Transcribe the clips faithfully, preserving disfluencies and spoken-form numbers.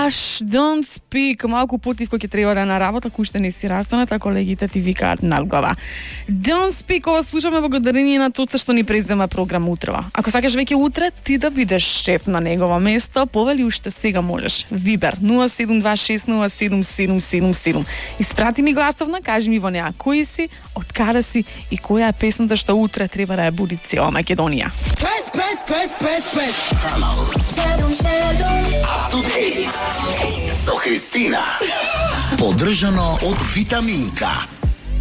Hush, don't speak. Малку потив кој ќе треба да на работа, кој уште не си растаната, колегите ти викаат надглава. Don't speak, ова слушаме благодарение на Тоца што ни презема програм утрева. Ако сакаш веќе утре ти да бидеш шеф на негово место, повели уште сега можеш. Вибер нула седум два шест нула седум седум седум седум. Испрати ми гласовна, кажи ми во неа кој си, од каде си и која е песната што утре треба да ја буди цела Македонија. Press, press, press, press, press. Седум, седум. Up to date со Христина. Поддржано од Витаминка.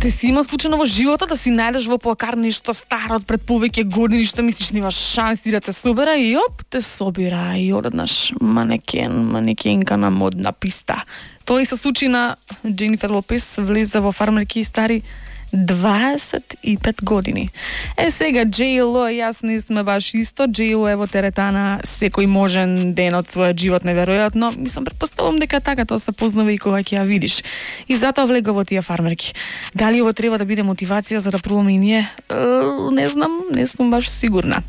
Те си има случајно во животот да си најдеш во плакар нешто старо од пред повеќе години што мислиш немаш шанси да те собера и оп, те собира и одеднаш манекен, манекенка на модна писта. Тоа и се случи на Дженифер Лопес, влезе во фармерки стари дваесет и пет години. Е сега Джей Ел и јас не сме баш исто. Джей Ел е во теретана секој можен ден од својот живот, неверојатно. Мислам, претпоставувам дека така тоа се познава и кога ќе ја видиш. И затоа влега во тие фармерки. Дали ово треба да биде мотивација за да пробаме и ние? Е, не знам, не сум баш сигурна.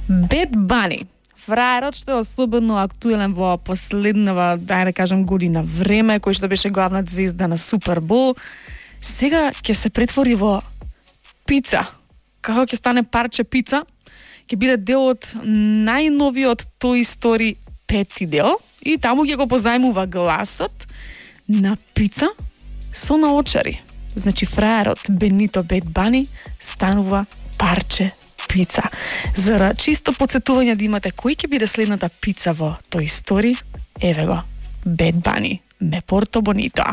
Бед Бани, фраерот што е особено актуелен во последнава, дај да кажам, година време, кој што беше главна звезда на Супербол, сега ќе се претвори во пица. Како ќе стане парче пица, ќе биде дел од најновиот Toy Story пети дел и таму ќе го позајмува гласот на пица со наочари. Значи фраерот Бенито Бед Бани станува парче пица. За чисто подсетување да имате кој ќе биде следната пица во Toy Story, еве го, Бед Бани, ме порто бонито.